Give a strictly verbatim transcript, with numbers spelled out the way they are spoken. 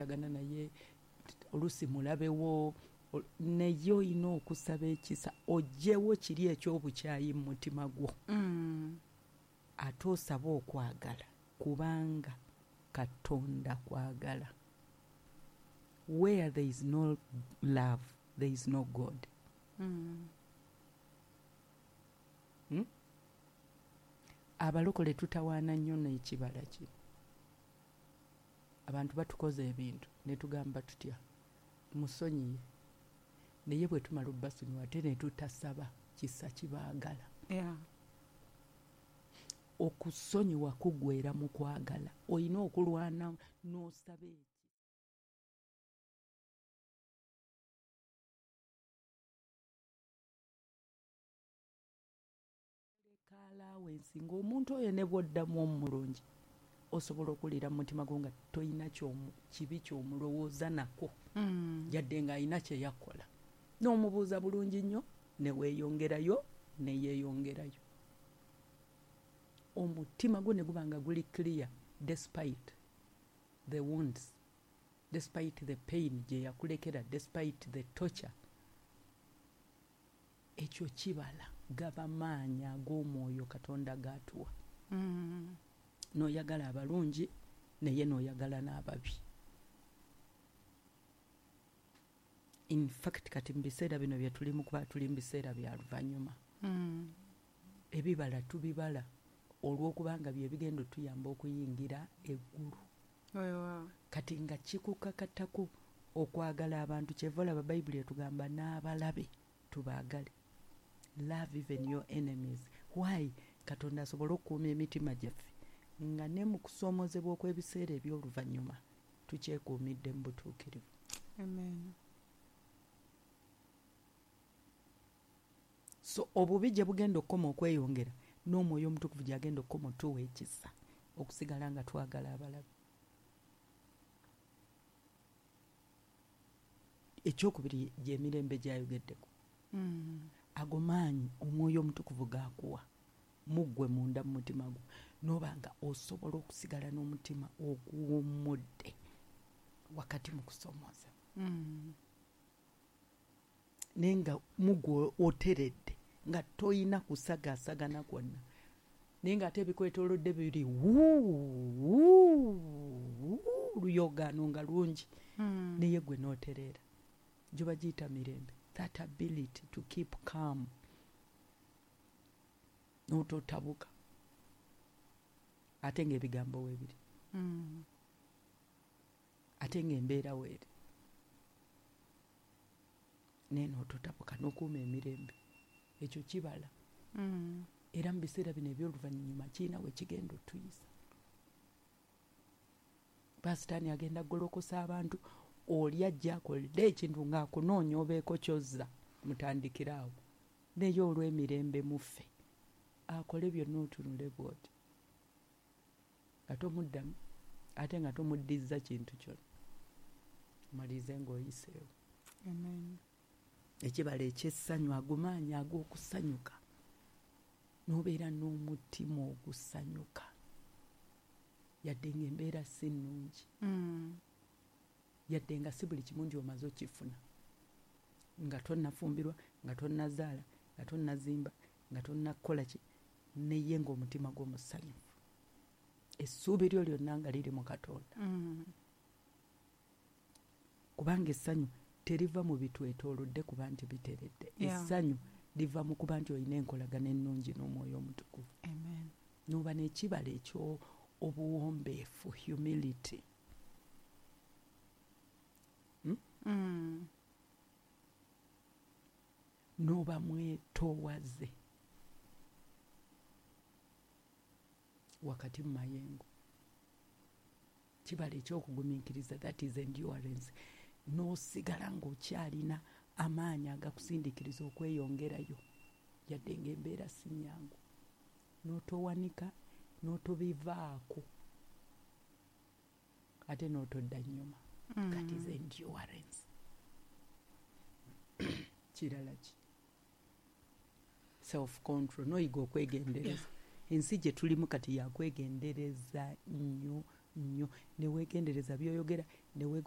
Gana naye oluusi mulabewo, naye olina okusaba ekisa oggyewo kiri eky'obukyayi mu mutima gwo. Mm. Ate osabe okwagala, kubanga Katonda kwagala. Where there is no love, there is no God. Mm. Hmm? Abalokole tutawaana nnyo n'ekibala kino. Abantu batukoze ebintu ne tugamba tutya, musonyiye, naye bwe tumala obbasonyiwa ate ne tutasaba kisa kibaagala. Yeah. Okusonyiwa kuggweera mu kwagala. Olina okulwana n'osaba eki. Allowance ng'omuntu oyo ne bw'oddamu omulungi osobola okuwulira mu mutima gwo nga toyina kibi ky'omulowooza nako. Mm. Yadde ng'alina kye yakola. N'omubuuza bulungi nnyo ne weeyongerayo ne yeeyongerayo. Omutima gwo ne guba nga guli clear despite the wounds, despite the pain gye yakulekera, despite the torture. Ekyo kibala gaba maanyi ag'omwoyo Katonda g'atuwa. Mm. N'oyagala abalungi naye n'oyagala n'ababi. In fact kati mu biseera bino bye tulimu, kuba tuli mu biseera bya luvannyuma. Mm. Ebibala tubibala olw'okubanga bye bigenda otuyamba okuyingira eggulu. Weewaawo. Kati nga kikukakatako okwagala abantu, kyeva olaba Bayibuli etugamba n'abalabe tubaagale. Love even your enemies. Why? Katonda asobole okukuuma emitima gyaffe nga ne mu kusoomozebwa okw'ebiseera eby'oluvannyuma tukyekuumidde mu butuukirivu. Amen. So obubi gye bugenda okukoma okweyongera n'omwoyo omutukuvu gy'agenda okukoma otuwa ekisa okusigala nga twagala abalabe. Ekyokubiri gy'emirembe gy'ayogeddeko. Mm. Ago maanyi omwoyo omutukuvu g'akuwa muggwe munda mu mutima gwo, n'oba nga osobola okusigala n'omutima oguwummudde wakati mu kusoomooza. Mm. Naye nga muggwe oteredde nga toyina kusagaasagana kwonna, naye ng'ate ebikwetoolodde biri wuu, wuu, luyogaano nga lungi. Mm. Naye gwe n'otereera. Gyo bagiyita mirembe. That ability to keep calm. N'ototabuka. Ate ng'ebigambo weebiri. Mm. Ate ng'embeera weeri. Naye n'ototabuka n'okuuma emirembe. Ekyo kibala. Mm. Era mu biseera bino eby'oluvannyuma kirina we kigenda otuyisa. Pasitaani agenda kugolokosa abantu, oli ajja akolere ekintu ng'akunoonya obeeko ky'ozza, mutandikire awo. Naye olw'emirembe muffe, akole byonna otunule bw'oti. Nga tomuddamu, ate nga tomuddizza kintu kyonna. Omalirize ng'oyiseewo. Amen. Ekibala eky'essanyu, ago maanyi ag'okusanyuka. N'obeera n'omutima ogusanyuka. Yadde ng'embeera si nnungi. Mm. Yadde nga si buli kimu nti omaze okifuna. Nga tonnafumbirwa, nga tonnazaala, nga tonnazimba, nga tonnakola ki, naye ng'omutima gwo musanyufu. Essuubi lyo lyonna nga liri mu Katonda. Mm. Kubanga essanyu teriva mu bitwetoolodde kuba nti biteredde. Yeah. Essanyu liva mu kuba nti olina enkolagana ennungi n'omwoyo omutukuvu. Amen. N'oba n'ekibala eky'obuwombeefu, humility. Hmm? Mm. N'oba mwetoowaze wakati mu mayengo. Kibala eky'okugumiikiriza, that is endurance. N'osigala ng'okyalina amaanyi agakusindiikiriza okweyongerayo yadde ng'embeera si nnyangu. N'otowanika, n'otobivaako, ate n'otodda nnyuma. Mm. That is endurance. Kirala ki? Self-control, n'oyiga okwegendereza. Yeah. Ensi gye tulimu kati yakwegendereza nnyo nnyo. Ne weegendereza by'oyogera, The way going